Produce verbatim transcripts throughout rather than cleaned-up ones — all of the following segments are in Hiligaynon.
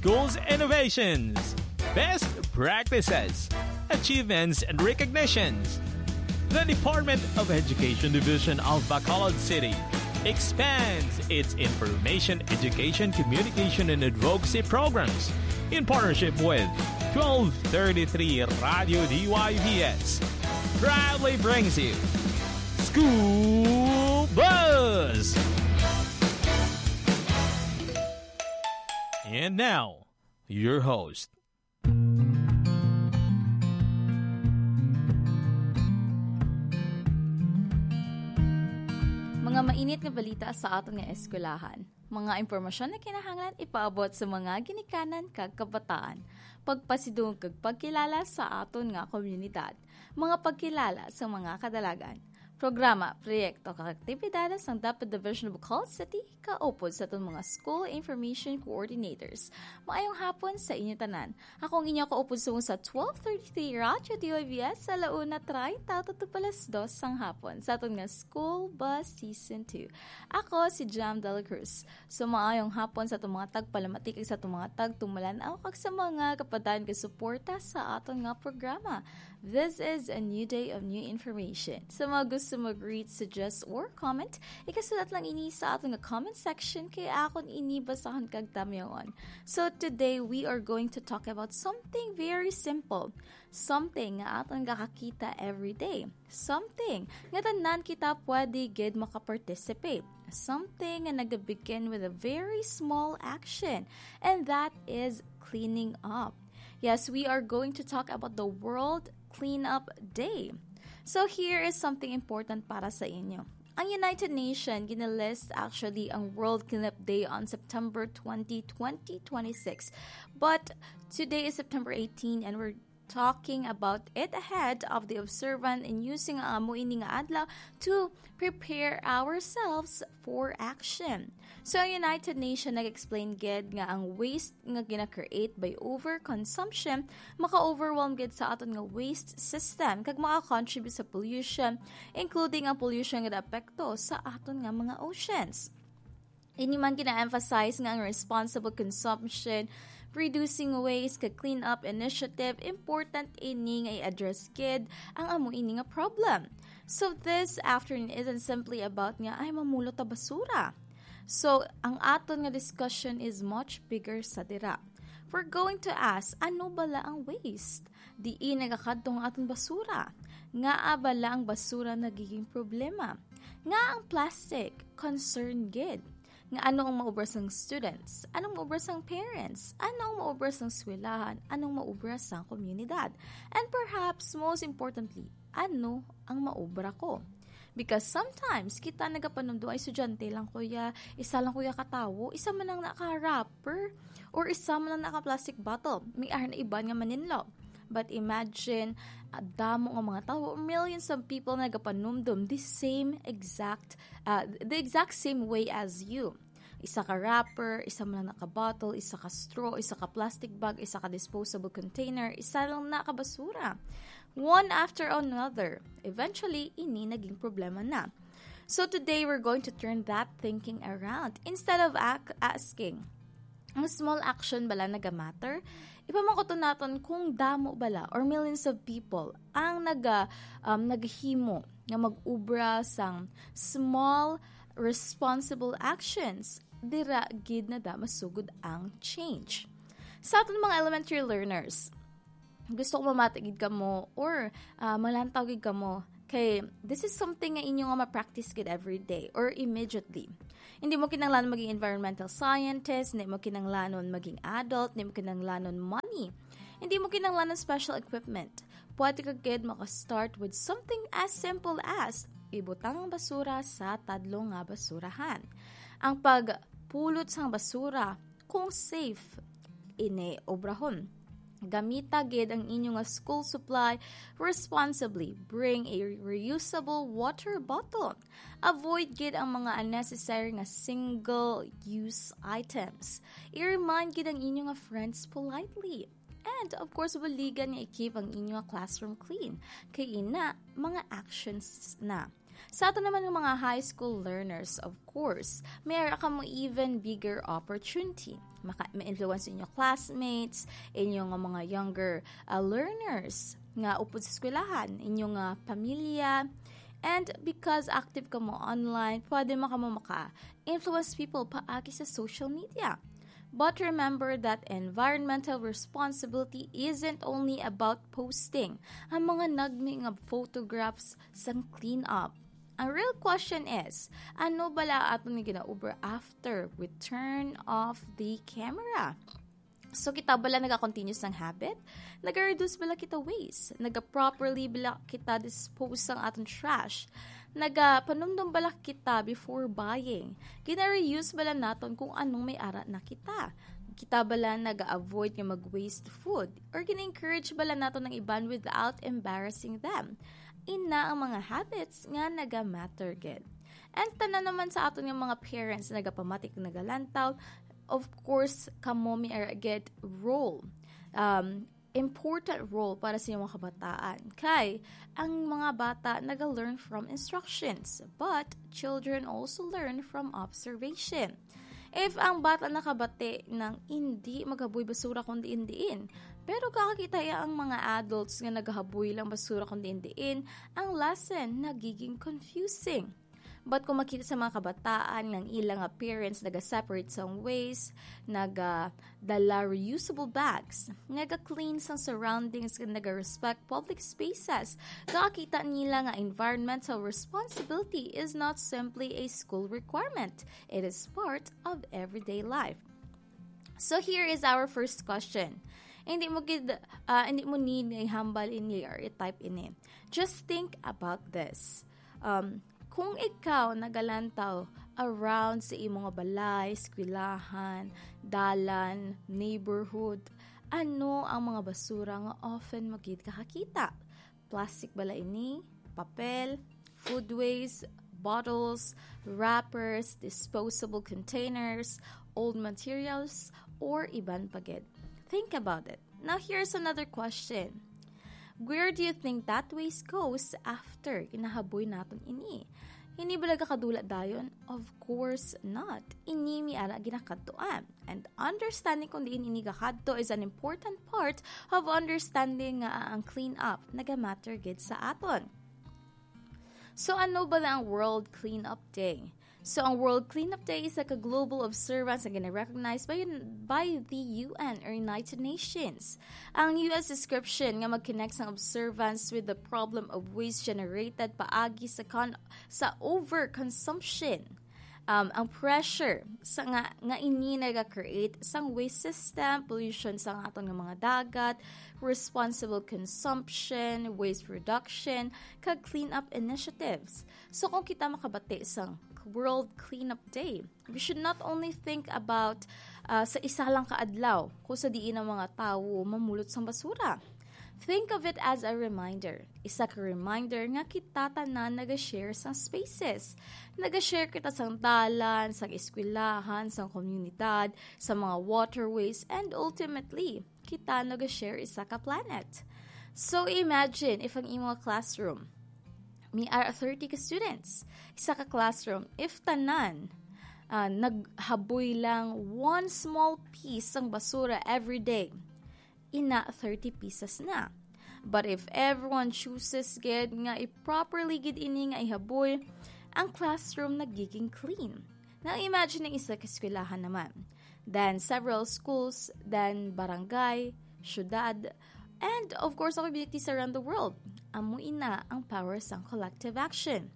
schools innovations, best practices, achievements, and recognitions. The Department of Education Division of Bacolod City expands its information, education, communication, and advocacy programs in partnership with twelve thirty-three Radio D Y V S. Proudly brings you School Buzz! And now, your host. Mga mainit nga balita sa aton nga eskwelahan. Mga impormasyon na kinahanglan ipaabot sa mga ginikanan kag kabataan. Pagpasidungog kag pagkilala sa aton nga komunidad. Mga pagkilala sa mga kadalagan. Programa, proyekto, kag aktibidades sang DepEd Division of Bacolod City kaupod sa aton mga school information coordinators. Maayong hapon sa inyo tanan. Ako ang inyo kaupod subong sa twelve thirty-three Radyo D Y V S sa alauna treinta tutok alas dos sang hapon sa aton nga School Bus Season two. Ako si Jam Dela Cruz. So, maayong hapon sa atong mga tagpalamati kag sa atong mga tagtumalan-aw kag sa mga kapadayon nga suporta sa aton nga programa. This is a new day of new information. Sa mga gusto mag-read, suggest, or comment, ikasulat lang ini sa aton nga comment section kay akon ini basahon kag tamyawon. So today, we are going to talk about something very simple. Something nga aton gakakita every day. Something nga tanan kita pwede gid makaparticipate. Something nga nagabegin with a very small action, and that is cleaning up. Yes, we are going to talk about the World Cleanup Day. So here is something important para sa inyo. Ang United Nations ginalist actually ang World Cleanup Day on September twenty, twenty twenty-six. But today is September eighteen and we're talking about it ahead of the observant and using ang amo ini nga adlaw to prepare ourselves for action. So, ang United Nations nag-explain gid nga ang waste nga gina-create by overconsumption maka-overwhelm gid sa aton nga waste system kag maka-contribute sa pollution, including ang pollution nga epekto sa aton nga mga oceans. Ini man gina-emphasize nga ang responsible consumption, reducing waste, kag clean-up initiative, important ini nga i-address gid ang amo ini nga problem. So this afternoon isn't simply about nga ay mamulo ta basura. So ang aton nga discussion is much bigger sa dira. We're going to ask, ano bala ang waste? Diin nagakadto ang aton basura? Ngaa bala ang basura nagiging problema? Nga ang plastic, concern gid? Nga ano ang maubra sang students? Anong maubra sang parents? Ano ang maubra sang eskwelahan? Anong maubra sang komunidad? And perhaps, most importantly, ano ang maubra ko? Because sometimes, kita nagapanumdom, "Ay, estudyante lang ko ya, isa lang ko ya katawo, isa man lang naka-wrapper, or isa man lang naka-plastic bottle, may ara na iban nga maninlo." But imagine, ah, damo nga mga tawo, millions of people nagapanumdom the same exact, ah, the exact same way as you. Isa ka wrapper, isa man lang naka-bottle, isa ka straw, isa ka plastic bag, isa ka disposable container, isa lang na ka basura. One after another. Eventually, ini naging problema na. So today, we're going to turn that thinking around. Instead of ac- asking, "Ang small action bala naga-matter?" Ipamangkuton naton kung damo bala or millions of people ang naga, um, naghimo nga mag-ubra sang small, responsible actions, dira gid na da masugod ang change. Sa aton mga elementary learners, gusto ko mamati gid kamo or, ah, malantaw gid kamo kay this is something nga inyo nga ma-practice gid every day or immediately. Hindi mo kinahanglan maging environmental scientist, hindi mo kinahanglanon maging adult, hindi mo kinahanglanon money. Hindi mo kinahanglanon special equipment. Pwede ka gid maka-start with something as simple as ibutang ang basura sa tadlong nga basurahan. Ang pagpulot sang basura, kung safe, ini obrahon. Gamita gid ang inyo nga school supply responsibly. Bring a reusable water bottle. Avoid gid ang mga unnecessary nga single-use items. I-remind gid ang inyo nga friends politely. And of course, buligan nga i-keep ang inyo nga classroom clean. Kay ina, mga actions na. Sa ato naman nga mga high school learners, of course, may ara kamo even bigger opportunity. Maka-, ma-influence inyo classmates, inyo nga mga younger, ah, learners nga upod sa eskwelahan, inyo nga pamilya, and because active kamo online, pwede man kamo maka-influence people paagi sa social media. But remember that environmental responsibility isn't only about posting ang mga nagmi nga photographs sang cleanup. Ang real question is, ano bala aton nga ginaubra after we turn off the camera? So, kita bala naga-continue sang habit? Naga-reduce bala kita waste? Naga-properly bala kita dispose sang aton trash? Naga-panumdom bala kita before buying? Gina-reuse bala naton kung anong may ara na kita? Kita bala naga-avoid nga mag-waste food? Or gina-encourage bala naton ang iban without embarrassing them? Ina ang mga habits nga naga-matter gid. And tanan naman sa aton nga mga parents nagapamati kag nagalantaw, of course, kamo may ara gid role. Um, important role para sa inyong mga kabataan. Kay, ang mga bata naga-learn from instructions, but children also learn from observation. If ang bata nakabati nang indi maghaboy basura kung diin-diin, pero kakakita iya ang mga adults nga nagahaboy lang basura kung diin-diin, ang lesson nagiging confusing. But kung makita sa mga kabataan nga ang ila nga parents naga-separate sang waste, nagadala reusable bags, naga-clean sang surroundings, naga-respect public spaces, kakita nila nga environmental responsibility is not simply a school requirement. It is part of everyday life. So here is our first question. Hindi mo gid, ah, hindi mo need nga ihambal ini or i-type ini. Just think about this. Um, kung ikaw nagalantaw around sa imo nga balay, eskwelahan, dalan, neighborhood, ano ang mga basura nga often mo gid kakakita? Plastic bala ini, papel, food waste, bottles, wrappers, disposable containers, old materials, or iban pa gid. Think about it. Now, here's another question. Where do you think that waste goes after ginahaboy naton ini? Ini bala gakadula dayon? Of course not. Ini may ara ginakadtuan. And understanding kung diin ini gakadto is an important part of understanding nga ang clean-up nagamatter gid sa aton. So, ano bala ang World Cleanup Day? So, ang World Cleanup Day is like a global observance nga gina-recognize by, by the U N or United Nations. Ang U S description nga mag-connect sang observance with the problem of waste generated paagi sa con-, sa overconsumption. Um, ang pressure sa nga, nga ini naga-create sang waste system, pollution sa aton nga mga dagat, responsible consumption, waste reduction, kag cleanup initiatives. So, kung kita makabati sang World Cleanup Day, we should not only think about, uh, sa isa lang ka adlaw kung sa diin ang mga tawo mamulot sang basura. Think of it as a reminder. Isa ka reminder nga kita tanan naga-share sang spaces. Naga-share kita sang dalan, sang eskwelahan, sang komunidad, sa mga waterways, and ultimately, kita naga-share isa ka planet. So, imagine if ang imo classroom may ara thirty ka students, isa ka classroom, if tanan, ah, naghaboy lang one small piece sang basura every day, ina thirty pieces na. But if everyone chooses gid nga i-properly gid ini nga ihaboy, ang classroom nagiging clean. Now imagine ang isa ka eskwelahan naman. Then several schools, then barangay, syudad, and of course, ang communities around the world. Amo ina ang power sang collective action.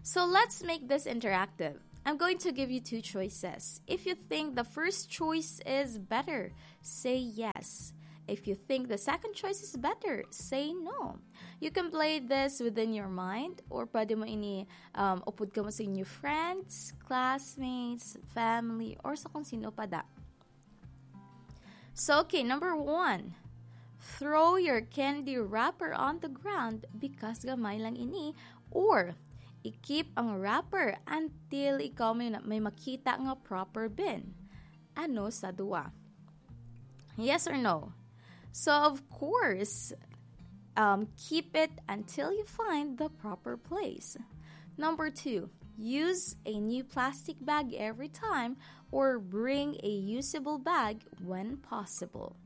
So let's make this interactive. I'm going to give you two choices. If you think the first choice is better, say yes. If you think the second choice is better, say no. You can play this within your mind, or pwede mo ini, um, upod kamo sa inyo friends, classmates, family, or sa kung sino pa da. So, okay, number one. Throw your candy wrapper on the ground because gamay lang ini, or i-keep ang wrapper until ikaw may, may makita nga proper bin. Ano sa duwa? Yes or no? So, of course, Um, keep it until you find the proper place. Number two, use a new plastic bag every time or bring a usable bag when possible.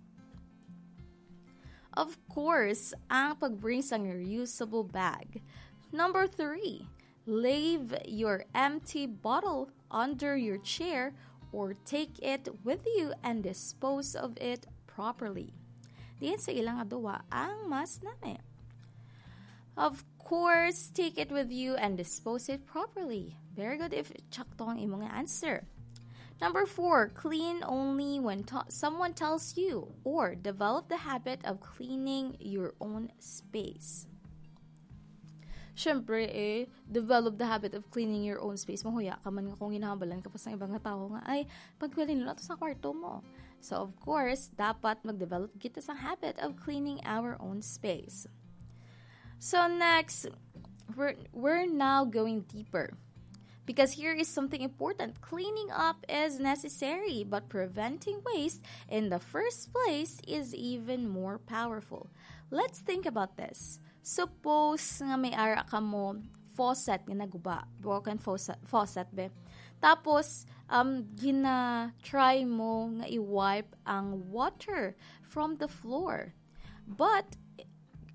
Of course, ang pag-bring sang reusable bag. Number three, leave your empty bottle under your chair or take it with you and dispose of it properly. Diin sa ilang aduwa ang mas nami. Of course, take it with you and dispose it properly. Very good if tsakto ang imong answer. Number four, clean only when ta- someone tells you or develop the habit of cleaning your own space. Siyempre, eh, develop the habit of cleaning your own space. Mahuya ka man nga kung ginahambalan ka pa sa ibang nga tao nga, "Ay, pagpili nila to sa kwarto mo." So, of course, dapat mag-develop kita sa habit of cleaning our own space. So, next, we're, we're now going deeper. Because here is something important. Cleaning up is necessary, but preventing waste in the first place is even more powerful. Let's think about this. Suppose nga may ara ka mo faucet nga naguba, broken faucet, faucet be. Tapos, um, gina-try mo nga i-wipe ang water from the floor. But,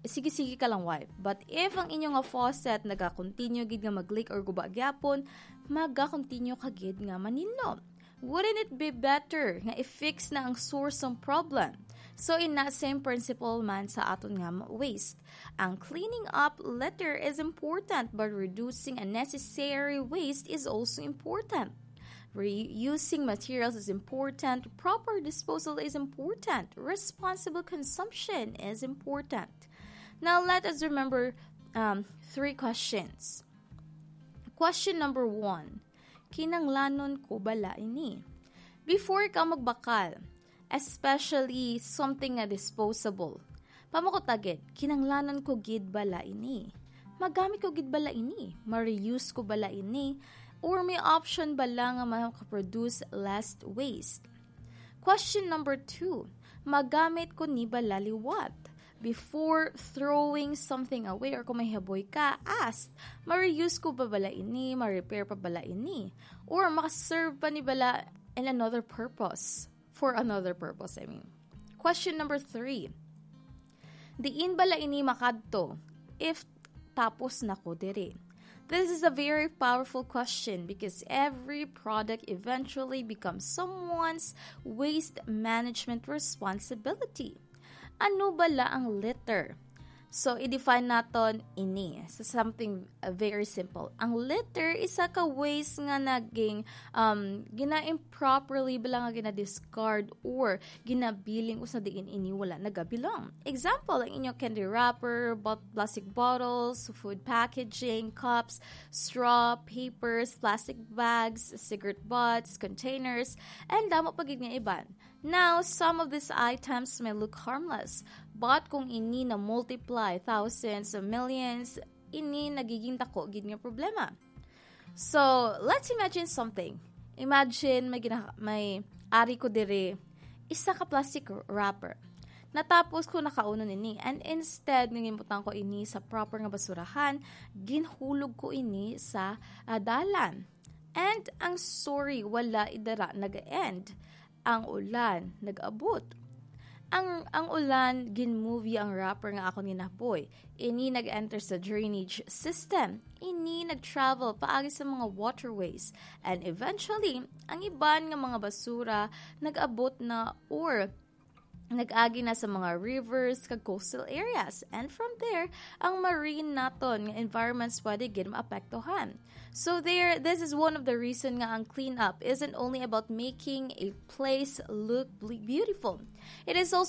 sige-sige ka lang wipe. But if ang inyo nga faucet naga-continue gid nga mag-leak or guba gyapon, maga-continue ka gid nga maninlo. Wouldn't it be better nga i-fix na ang source sang problem? So, in that same principle man sa aton nga ma-, waste, ang cleaning up litter is important, but reducing unnecessary waste is also important. Reusing materials is important. Proper disposal is important. Responsible consumption is important. Now, let us remember, um, three questions. Question number one, kinanglanon ko bala ini? Before ka magbakal, especially something nga disposable, pamakutagid, kinanglanon ko gid bala ini? Magamit ko gid bala ini? Ma-reuse ko bala ini? Or may option bala nga makaproduce less waste? Question number two, magamit ko ni bala liwat? Before throwing something away or kung may haboy ka, ask, ma-reuse ko pa bala ini? Ma-repair pa bala ini? Or makaserve pa ni bala in another purpose? For another purpose, I mean. Question number three, diin bala ini makadto if tapos na ko diri? This is a very powerful question because every product eventually becomes someone's waste management responsibility. Ano bala ang litter? So, i-define naton ini sa something, uh, very simple. Ang litter, isa ka waste nga naging, um, gina-improperly bala nga gina-discard or ginabiling usa diin ini wala nagabilong. Example, ang inyo candy wrapper, bot-, plastic bottles, food packaging, cups, straw, papers, plastic bags, cigarette butts, containers, and damo pa gid nga iban. Now, some of these items may look harmless, but kung ini na-multiply thousands or millions, ini nagiging dako gid nga problema. So, let's imagine something. Imagine may gina-, may ari ko diri, isa ka plastic wrapper. Natapos ko nakaunon ini, and instead nga ginbutang ko ini sa proper nga basurahan, ginhulog ko ini sa, ah, dalan. And ang story wala idara nag-end. Ang ulan nag-abot. Ang, ang ulan, ginmove ang wrapper nga akon ginahaboy. Ini nag-enter sa drainage system. Ini nag-travel paagi sa mga waterways. And eventually, ang iban nga mga basura nag-abot na or nag-agi na sa mga rivers kag coastal areas. And from there, ang marine naton nga environments pwede gid maapektuhan. So there, this is one of the reason nga ang cleanup isn't only about making a place look ble-, beautiful. It is also